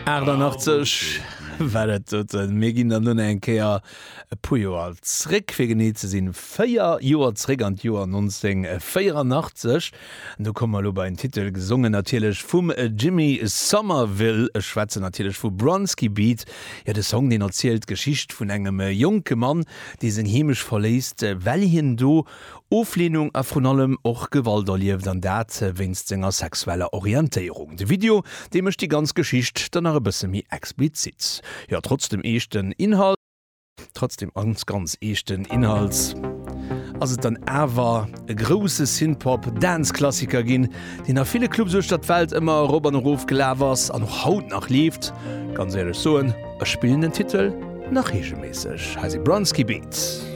88 war dat doten. Mir ginn dann elo nach eng Kéier e puer Joer zréck, fir genee ze sinn 4 Joer zréck an d'Joer 1984. An do komme mer elo bei en Titel, gesongen natierlech vum Jimmy Somerville. Ech schwätzen natierlech vu Bronski Beat. Jo, de Song, deen erzielt d'Geschicht vun engem jonke Mann, dee seng Heemecht verléisst, well hien do Ofleenung a vrun allem och Gewalt erlieft, an dat wéinst senger sexueller Orientéierung. De Video, dee mécht déi ganz Geschicht dann nach e bësse méi explizit. Jo, trotz dem eeschten Inhalt, trotz dem ganz, ganz eeschten Inhalt ass et dann awer e grousse Synthpop-Dance-Klassiker ginn, deen a ville Clubs uechter d'Welt ëmmer erop an erof gelaf ass an och haut nach leeft. Ganz éierlech soen, ech spillen den Titel nach reegelméisseg. Hei si Bronski Beat.